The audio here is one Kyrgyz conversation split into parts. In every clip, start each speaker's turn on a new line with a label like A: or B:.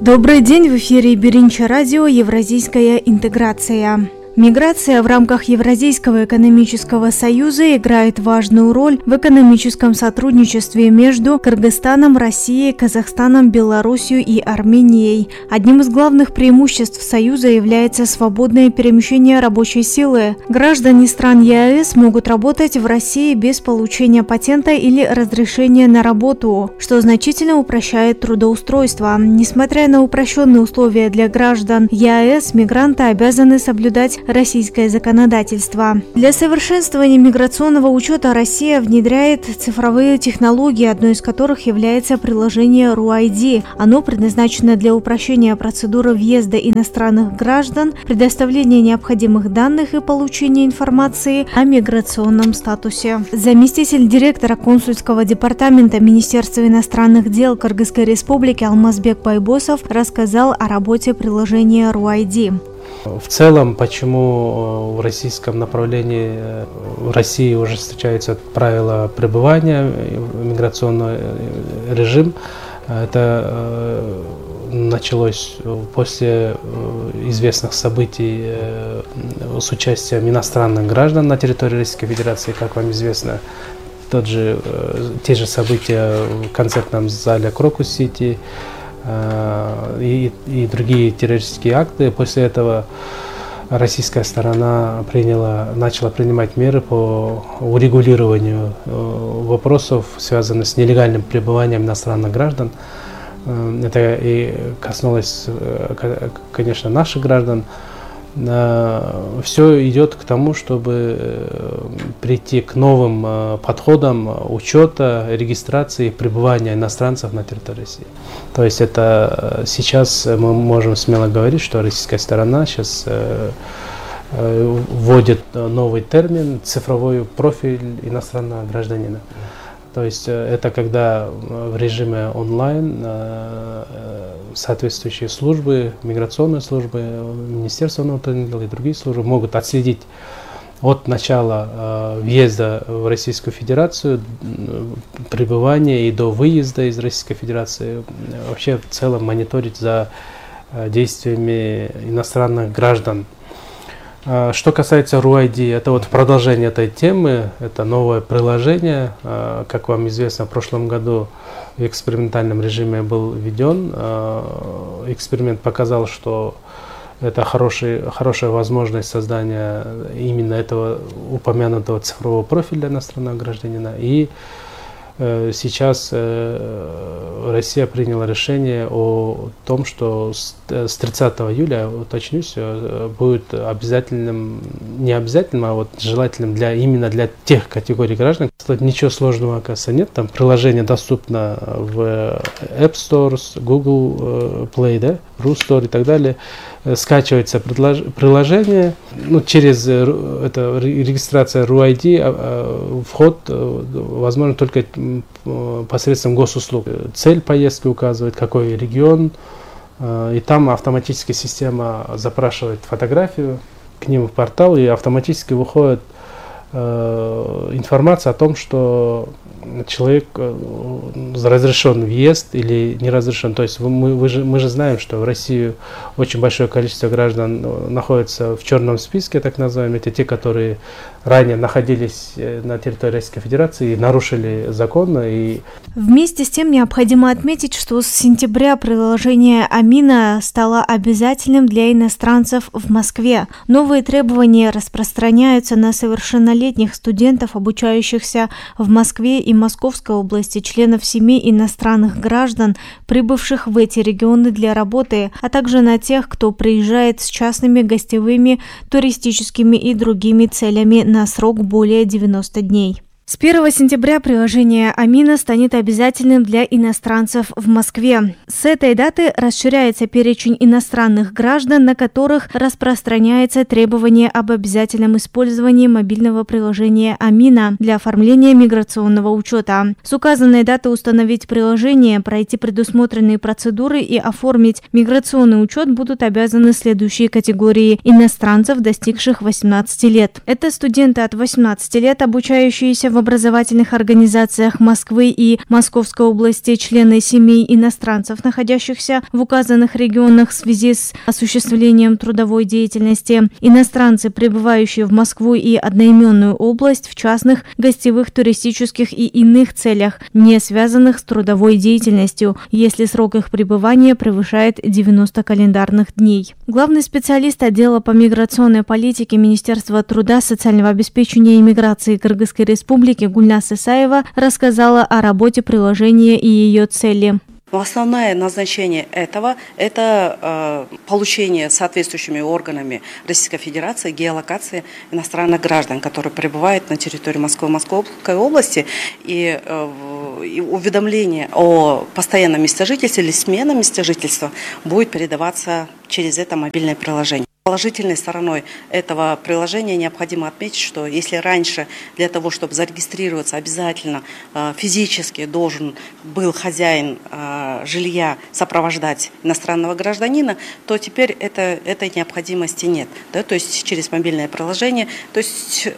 A: Добрый день, в эфире Биринчи радио «Евразийская интеграция». Миграция в рамках Евразийского экономического союза играет важную роль в экономическом сотрудничестве между Кыргызстаном, Россией, Казахстаном, Белоруссией и Арменией. Одним из главных преимуществ союза является свободное перемещение рабочей силы. Граждане стран ЕАЭС могут работать в России без получения патента или разрешения на работу, что значительно упрощает трудоустройство. Несмотря на упрощенные условия для граждан ЕАЭС, мигранты обязаны соблюдать российское законодательство. Для совершенствования миграционного учета Россия внедряет цифровые технологии, одной из которых является приложение RUID. Оно предназначено для упрощения процедуры въезда иностранных граждан, предоставления необходимых данных и получения информации о миграционном статусе. Заместитель директора консульского департамента Министерства иностранных дел Кыргызской Республики Алмазбек Байбосов рассказал о работе приложения RUID.
B: В целом, почему в российском направлении в России уже встречаются правила пребывания, миграционный режим, это началось после известных событий с участием иностранных граждан на территории Российской Федерации, как вам известно, те же события в концертном зале Крокус-Сити, и другие террористические акты. После этого российская сторона начала принимать меры по урегулированию вопросов, связанных с нелегальным пребыванием иностранных граждан. Это и коснулось, конечно, наших граждан. Все идет к тому, чтобы прийти к новым подходам учета, регистрации и пребывания иностранцев на территории России. То есть это сейчас мы можем смело говорить, что российская сторона сейчас вводит новый термин «цифровой профиль иностранного гражданина». То есть это когда в режиме онлайн соответствующие службы, миграционные службы, Министерство внутренних дел и другие службы могут отследить от начала въезда в Российскую Федерацию, пребывания и до выезда из Российской Федерации, вообще в целом мониторить за действиями иностранных граждан. Что касается RUID, это вот продолжение этой темы, это новое приложение. Как вам известно, в прошлом году в экспериментальном режиме был введен. Эксперимент показал, что это хорошая возможность создания именно этого упомянутого цифрового профиля иностранного гражданина. И сейчас Россия приняла решение о том, что с 30 июля, уточнюсь, будет обязательным, не обязательным, а вот желательным именно для тех категорий граждан. Ничего сложного, оказывается, нет. Там приложение доступно в App Store, Google Play, да, Rustore и так далее. Скачивается приложение, через регистрация RUID, вход возможно только посредством госуслуг. Цель поездки указывает, какой регион, и там автоматически система запрашивает фотографию к ним в портал, и автоматически выходит информация о том, что человек разрешен въезд или не разрешен. То есть мы же знаем, что в России очень большое количество граждан находится в черном списке, так называемые, это те, которые ранее находились на территории Российской Федерации и нарушили закон.
A: Вместе с тем необходимо отметить, что с сентября приложение Амина стало обязательным для иностранцев в Москве. Новые требования распространяются на совершеннолетних студентов, обучающихся в Москве и Московской области, членов семей иностранных граждан, прибывших в эти регионы для работы, а также на тех, кто приезжает с частными гостевыми, туристическими и другими целями на срок более 90 дней. С 1 сентября приложение Амина станет обязательным для иностранцев в Москве. С этой даты расширяется перечень иностранных граждан, на которых распространяется требование об обязательном использовании мобильного приложения Амина для оформления миграционного учета. С указанной даты установить приложение, пройти предусмотренные процедуры и оформить миграционный учет будут обязаны следующие категории иностранцев, достигших 18 лет. Это студенты от 18 лет, обучающиеся в в образовательных организациях Москвы и Московской области члены семей иностранцев, находящихся в указанных регионах в связи с осуществлением трудовой деятельности. Иностранцы, прибывающие в Москву и одноименную область в частных, гостевых, туристических и иных целях, не связанных с трудовой деятельностью, если срок их пребывания превышает 90 календарных дней. Главный специалист отдела по миграционной политике Министерства труда, социального обеспечения и миграции Кыргызской Республики Гульнас Исаева рассказала о работе приложения и ее цели.
C: Основное назначение этого – это получение соответствующими органами Российской Федерации геолокации иностранных граждан, которые пребывают на территории Москвы и Московской области, и уведомление о постоянном месте жительства или смена места жительства будет передаваться через это мобильное приложение. Положительной стороной этого приложения необходимо отметить, что если раньше для того, чтобы зарегистрироваться, обязательно физически должен был хозяин жилья сопровождать иностранного гражданина, то теперь этой необходимости нет. Да? То есть через мобильное приложение, то есть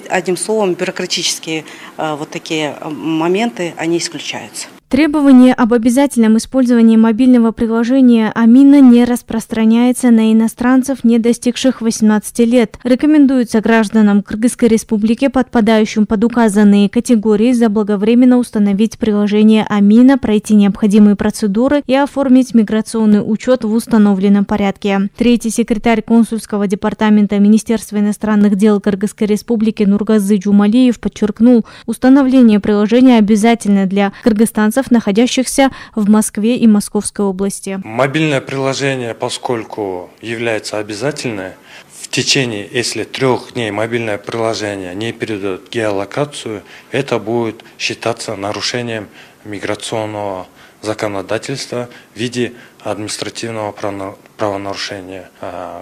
C: одним словом бюрократические вот такие моменты, они исключаются.
A: Требование об обязательном использовании мобильного приложения Амина не распространяется на иностранцев, не достигших 18 лет. Рекомендуется гражданам Кыргызской Республики, подпадающим под указанные категории, заблаговременно установить приложение Амина, пройти необходимые процедуры и оформить миграционный учет в установленном порядке. Третий секретарь консульского департамента Министерства иностранных дел Кыргызской Республики Нургазы Джумалиев подчеркнул, установление приложения обязательно для кыргызстанцев, находящихся в Москве и Московской области.
D: Мобильное приложение, поскольку является обязательным, в течение, если 3 дней мобильное приложение не передает геолокацию, это будет считаться нарушением миграционного законодательства в виде административного правонарушения.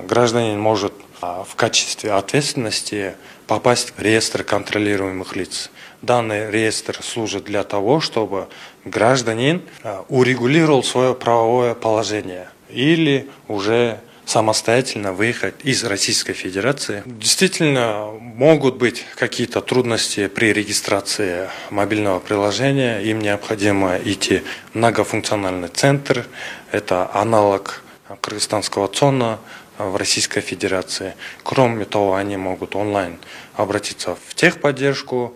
D: Гражданин может в качестве ответственности попасть в реестр контролируемых лиц. Данный реестр служит для того, чтобы гражданин урегулировал свое правовое положение или уже самостоятельно выехать из Российской Федерации. Действительно, могут быть какие-то трудности при регистрации мобильного приложения. Им необходимо идти в многофункциональный центр. Это аналог кыргызстанского ЦОНа в Российской Федерации. Кроме того, они могут онлайн обратиться в техподдержку,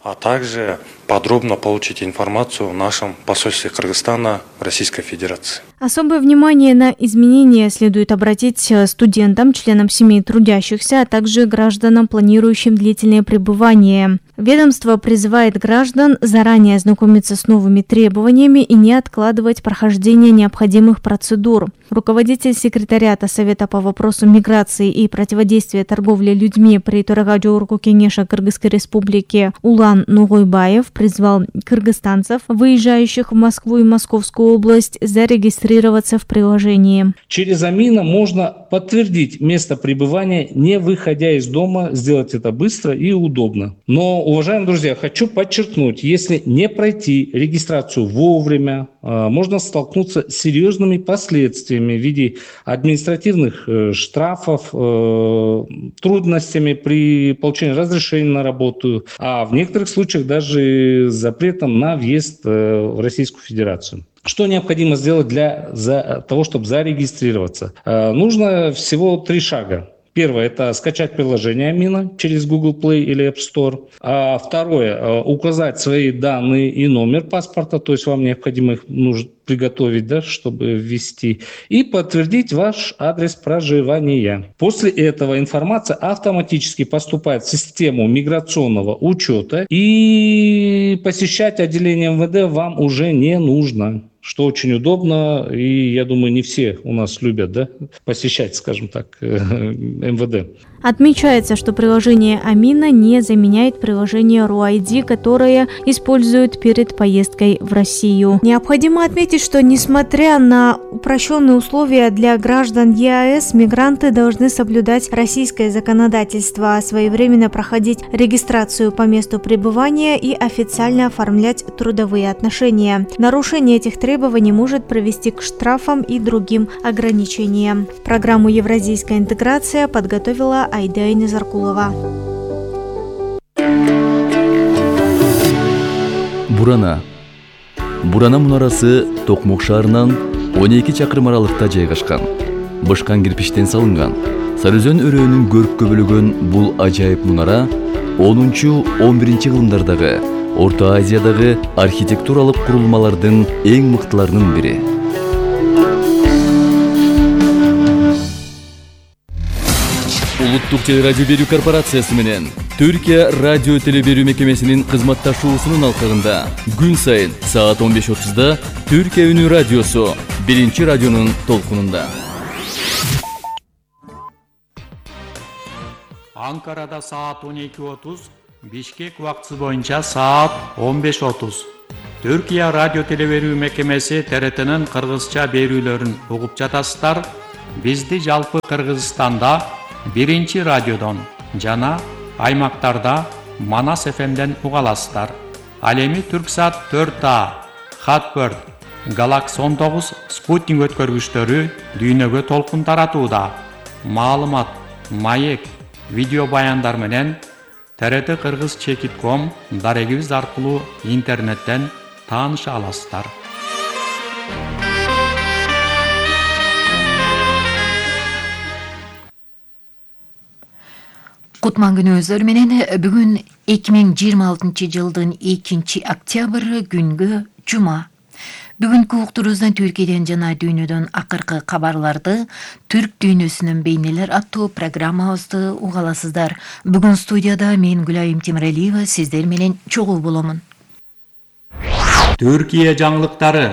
D: а также подробно получить информацию в нашем посольстве Кыргызстана в Российской Федерации.
A: Особое внимание на изменения следует обратить студентам, членам семей трудящихся, а также гражданам, планирующим длительное пребывание. Ведомство призывает граждан заранее ознакомиться с новыми требованиями и не откладывать прохождение необходимых процедур. Руководитель секретариата Совета по вопросам миграции и противодействия торговле людьми при Төрагажоурку Кенеша Кыргызской Республики Улан Нугойбаев призвал кыргызстанцев, выезжающих в Москву и Московскую область, зарегистрироваться в приложении.
E: Через Амина можно подтвердить место пребывания, не выходя из дома, сделать это быстро и удобно. Но, уважаемые друзья, хочу подчеркнуть, если не пройти регистрацию вовремя, можно столкнуться с серьезными последствиями в виде административных штрафов, трудностями при получении разрешения на работу, а в некоторых случаях даже запретом на въезд в Российскую Федерацию. Что необходимо сделать для того, чтобы зарегистрироваться? Нужно всего 3 шага. Первое – это скачать приложение Амина через Google Play или App Store. А второе – указать свои данные и номер паспорта, то есть вам необходимо их приготовить, да, чтобы ввести, и подтвердить ваш адрес проживания. После этого информация автоматически поступает в систему миграционного учета, и посещать отделение МВД вам уже не нужно, что очень удобно, и я думаю, не все у нас любят, да, посещать, скажем так, МВД.
A: Отмечается, что приложение Амина не заменяет приложение RUID, которое используют перед поездкой в Россию. Необходимо отметить, что несмотря на упрощенные условия для граждан ЕАЭС, мигранты должны соблюдать российское законодательство, своевременно проходить регистрацию по месту пребывания и официально оформлять трудовые отношения. Нарушение этих требований может привести к штрафам и другим ограничениям. Программу «Евразийская интеграция» подготовила Айда Незаркулова.
F: Бурана. Бурана мунарасы Токмок шаарынан 12 чакырым аралыкта жайгашкан. Бышкан кирпичтен салынган. Сарыөзөн өрөөнүн көрккө бөлөгөн бул ажайып мунара 10-11 кылымдардагы Орто Азиядагы архитектуралык курулмалардын эң мыктыларынын бири. Улуттук телерадио берүү корпорациясы менен Түркия радио телеберүү мекемесинин кызматташуусунун алкагында күн сайын саат 15:30да Түркия үнү радиосу биринчи радионун толкунунда.
G: Анкарада саат 12:30, Бишкек убактысы боюнча саат 15:30. Түркия радио телеберүү мекемеси ТРТнын кыргызча берүүлөрүн угуп жатасыздар. Бизди жалпы Кыргызстанда биринчи радиодон жана аймактарда Манас ФМден уга аласыздар. Ал эми Түрксат 4А, Хатберд, Галакс 19 спутник өткөргүчтөрү дүйнөгө толкун таратууда. Маалымат, маек, видео баяндар менен ТРТ Кыргыз Чекит.com дарегибиз аркылуу интернеттен тааныша аласыздар.
H: Кутман күнүңүздөр менен бүгүн 2026 жылдын 2 октябрь күнгө жума. Бүгүнкү уктурубуздан Түркияден жана дүйнөдөн акыркы кабарларды Түрк дүйнөсүнүн бейнелер аттуу программабызды угаласыздар. Бүгүн студияда мен Гүлайым Темиралиева сиздер менен чогуу боломун.
G: Түркия жаңылыктары.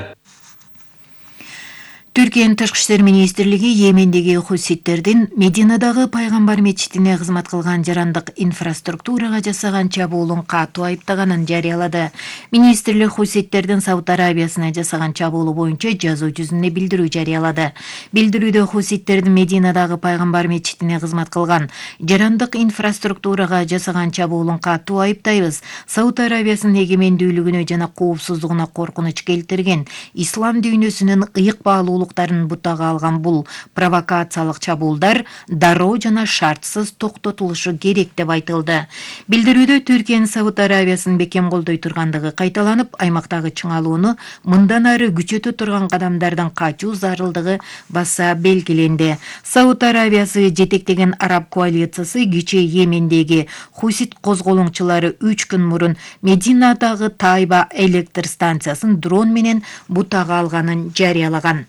H: Түркиянын Тышкы иштер министрлиги Йемендеги хуситтердин Мединадагы пайгамбар мечитине кызмат кылган жарандык инфраструктурага жасаган чабуулун катуу айыптаганын жарыялады. Министрлик хуситтердин Сауд Арабиясына жасаган чабуулу боюнча жазуу жүзүндө билдирүү жарыялады. Билдирүүдө хуситтердин Мединадагы пайгамбар мечитине кызмат кылган жарандык инфраструктурага жасаган чабуулун катуу айыптайбыз. Сауд Арабиясынын эгемендүүлүгүнө жана коопсуздугуна коркунуч келтирген ислам дүйнөсүнүн ыйык баалуулуктарын бутага алган бул провокациялык чабуулдар дароо жана шартсыз токтотулушу керек деп айтылды. Билдирүүдө Түркиянын Сауд Арабиясын бекем колдой тургандыгы кайталанып, аймактагы чыңалууну мындан ары күчөтө турган кадамдардан качуу зарылдыгы баса белгиленди. Сауд Арабиясы жетектеген араб коалициясы кичи Йемендеги хусит козголоңчулары 3 күн мурун Мединадагы Тайба электр станциясын дрон менен бутага алганын жарыялаган.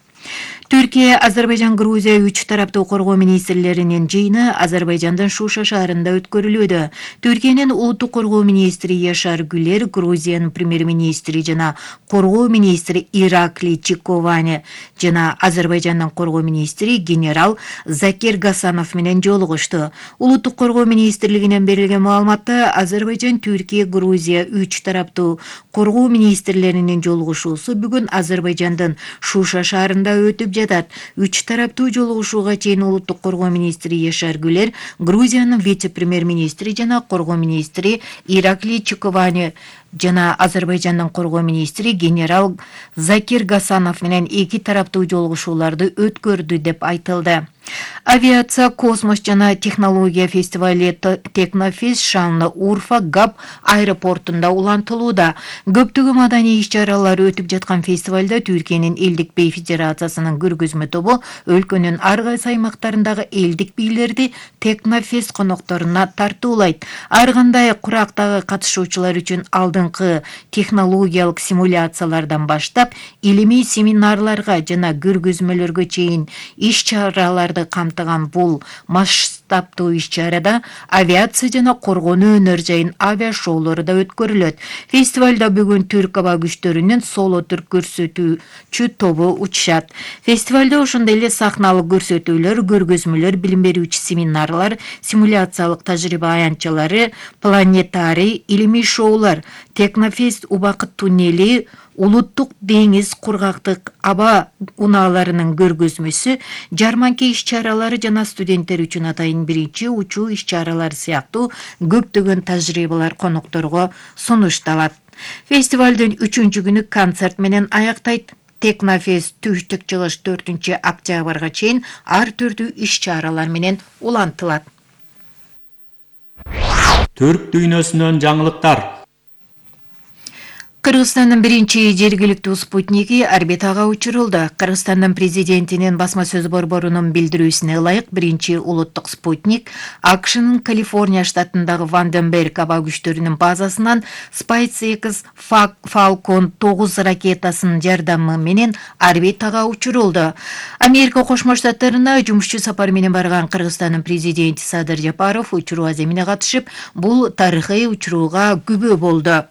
H: Түркия, Азербайжан, Грузия 3 тараптуу коргоо министрлеринин жыйыны Азербайжандын Шуша шаарында өткөрүлүүдө. Түркиянын улуттук коргоо министри Яшар Гүлер, Грузиянын премьер-министри жана коргоо министри Иракли Чиковани жана Азербайжандын коргоо министри генерал Закир Гасанов менен жолугушту. Улуттук коргоо министрлигинен берилген маалыматта Азербайжан, Түркия, Грузия 3 тараптуу коргоо министрлеринин жолугушуусу бүгүн Азербайжандын Шуша шаарында өтүп жатат. 3 тараптуу жолугушууга чейин улуттук коргоо министри Яшар Гүлер, Грузиянын вице-премьер-министри жана коргоо министри Иракли Чиковани жана Азербайжандын коргоо министри генерал Закир Гасанов менен 2 тараптуу жолугушууларды өткөрдү деп айтылды. Авиация, космос жана технология фестивали Технофест шааны Урфа ГАП аэропортунда улантылууда. Көптөгөн маданий иш-чаралар өтүп жаткан фестивалда Түркиянын элдик бей федерациясынын көргөзмө тобу өлкөнүн ар кайсы аймактарындагы элдик бийлерди Технофест конокторуна тартуулайт. Ар кандай курактагы катышуучулар үчүн алдыңкы технологиялык симуляциялардан баштап илимий семинарларга жана көргөзмөлөргө чейин иш-чаралар камтыган бул масштабтуу иш-чарада авиация жана коргонуу өнөр жайын авиашоулору да өткөрүлөт. Фестивалда бүгүн Түрк аба күчтөрүнүн соло түрк көрсөтүүчү тобу учушат. Фестивалда ошондой эле сахналык көрсөтүүлөр, көргөзмөлөр, билим берүүчү семинарлар, симуляциялык тажрыйба аянтчалары, планетарий, илимий шоулар, Технофест убакыт туннели, улуттук деңиз кургактык аба унааларынын көргөзмөсү, жарманка иш-чаралары жана студенттер үчүн атайын биринчи учуу иш-чаралары сыяктуу көптөгөн тажрыйбалар конокторго сунушталат. Фестивалдын 3-күнү концерт менен аяктайт. Технофест түштүк чыгыш 4 октябрга чейин ар түрдүү иш-чаралар менен улантылат.
G: Түрк дүйнөсүнөн жаңылыктар.
H: Кыргызстандын биринчи жергиликтүү спутниги орбитага учурулду. Кыргызстандын президентинин басма сөз борборунун билдирүүсүнө ылайык биринчи улуттук спутник АКШнын Калифорния штатындагы Ванденберг аба күчтөрүнүн базасынан SpaceX Falcon 9 ракетасынын жардамы менен орбитага учурулду. Америка Кошмо Штаттарына жумушчу сапар менен барган Кыргызстандын президенти Садыр Жапаров учуруу аземине катышып, бул тарыхый учурууга күбө болду.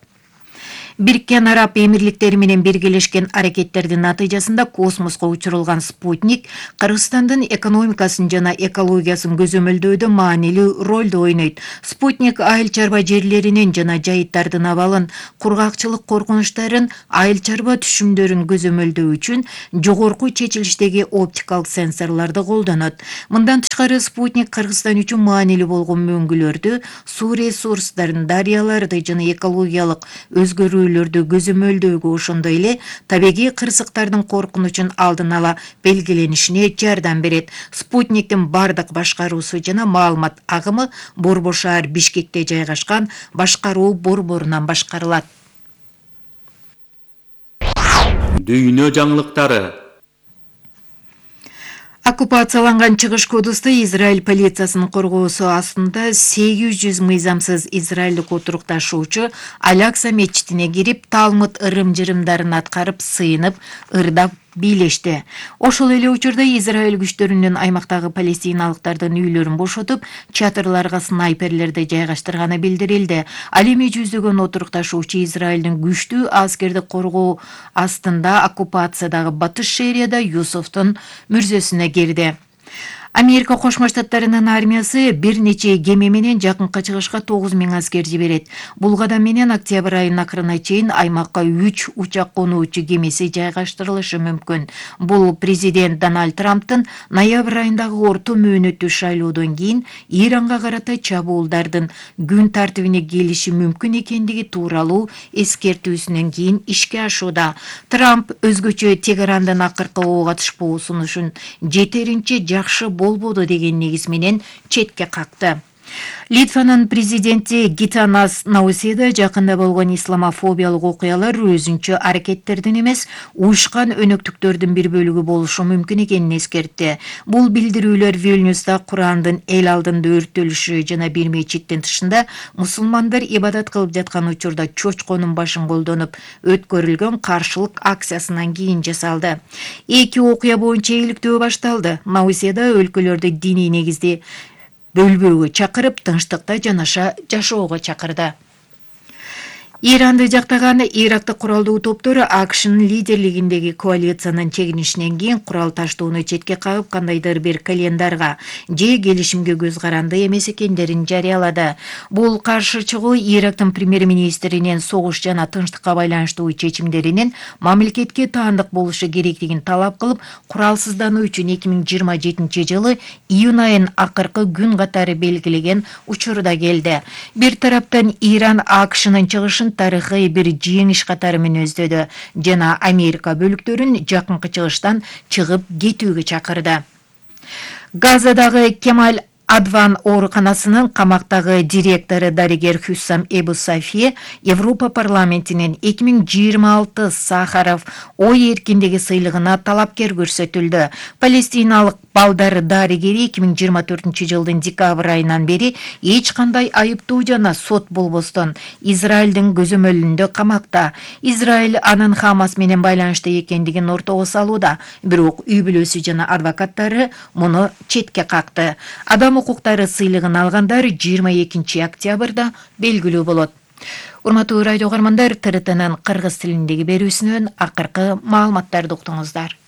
H: Бириккен Араб Эмирликтери менен биргелешкен аракеттердин натыйжасында космоско учурулган спутник Кыргызстандын экономикасын жана экологиясын көзөмөлдөөдө маанилүү ролду ойнойт. Спутник айыл чарба жерлеринин жана жайыттардын абалын, кургакчылык коркунучтарын, айыл чарба түшүмдөрүн көзөмөлдөө үчүн жогорку чечилиштеги оптикалык сенсорлорду колдонот. Мындан тышкары спутник Кыргызстан үчүн маанилүү болгон мөңгүлөрдү, суу ресурстарын, дарыяларды жана экологиялык өзгөрүү көзөмөлдөөгө, ошондой эле табигый кырсыктардын коркунучун алдын ала белгиленишине жардам берет. Спутниктин бардык башкаруусу жана маалымат агымы Борбор шаар Бишкекте жайгашкан башкаруу борборунан башкарылат.
G: Дүйнө жаңылыктары.
H: Оккупацияланган Чыгыш Кудусты Израиль полициясынын коргоосу астында 800 мыйзамсыз израилдик отурукташуучу Алякса мечитине кирип, Талмуд ырым-жырымдарын аткарып, сыйынып, ырдап бийлешти. Ошол эле учурда Израиль күчтөрүнүн аймактагы палестиналыктардын үйлөрүн бошотуп, чатырларга снайперлерди жайгаштырганы билдирилди. Ал эми жүздөгөн отурукташуучу Израилдин күчтүү аскердик коргоо астында оккупациядагы Батыш шаарында Юсуфтун мүрзөсүнө кирди. Америка Кошмо Штаттарынын армиясы бир нече кеме менен жакынкы чыгышка 9000 аскер жиберет. Бул кадам менен октябрь айынын акырына чейин аймакка 3 учак конуучу кемеси жайгаштырылышы мүмкүн. Бул президент Дональд Трамптын ноябрь айындагы орто мөөнөттүү шайлоодон кийин Иранга карата чабуулдардын күн тартибине келиши мүмкүн экендиги тууралуу эскертүүсүнөн кийин ишке ашууда. Трамп өзгөчө Тегерандын акыркы оога түшпөө сунушун жетеринче жакшы болбоду деген негиз менен четке какты. Литванын президенти Гитанас Науседа жакында болгон исламофобиялык окуялар өзүнчө аракеттердин эмес, уюшкан өнөктүктөрдүн бир бөлүгү болушу мүмкүн экенин эскертти. Бул билдирүүлөр Вильнюста Курандын эл алдында өрттөлүшү жана бир мечиттин тышында мусулмандар ибадат кылып жаткан учурда чочконун башын колдонуп өткөрүлгөн каршылык акциясынан кийин жасалды. Эки окуя боюнча иликтөө башталды. Науседа өлкөлөрдү диний негизде бөлбөөгө чакырып, тынчтыкта жанаша жашоого чакырды. Иранды жактаган Ирактык куралдуу топтор АКШнын лидерлигиндеги коалициянын чегинишинен кийин курал таштоону четке кагып, кандайдыр бир календарга же келишимге көз каранды эмес экендерин жарыялады. Бул каршы чыгуу Ирактын премьер-министринин согуш жана тынчтыкка байланыштуу чечимдеринин мамлекетке таандык болушу керектигин талап кылып, куралсыздануу үчүн 2027 жылы июнь айынын акыркы күн катары белгилеген учурда келди. Бир тараптан Иран АКШнын чыгышын тарыхый бир жеңиш катары менен өздөдү жана Америка бөлүктөрүн жакынкы чыгыштан чыгып кетүүгө чакырды. Газадагы Кемаль Адван ооруканасынын камактагы директору дарыгер Хуссам Эбу Сафи Европа парламентинин 2026 Сахаров ой эркиндиги сыйлыгына талапкер көрсөтүлдү. Палестиналык балдар дарыгери 2024 жылдын декабрь айынан бери эч кандай айыптуу жана сот болбостон Израилдин көзөмөлүндө камакта. Израиль анын Хамас менен байланышта экендигин ортого салууда, бирок үй бүлөсү жана адвокаттары муну четке какты. Адам укуктары сыйлыгын алгандар 22 октябрда белгилүү болот. Урматтуу радио каармандар, ТРТнын кыргыз тилиндеги берүүсүнөн акыркы маалыматтарды уктуңуздар.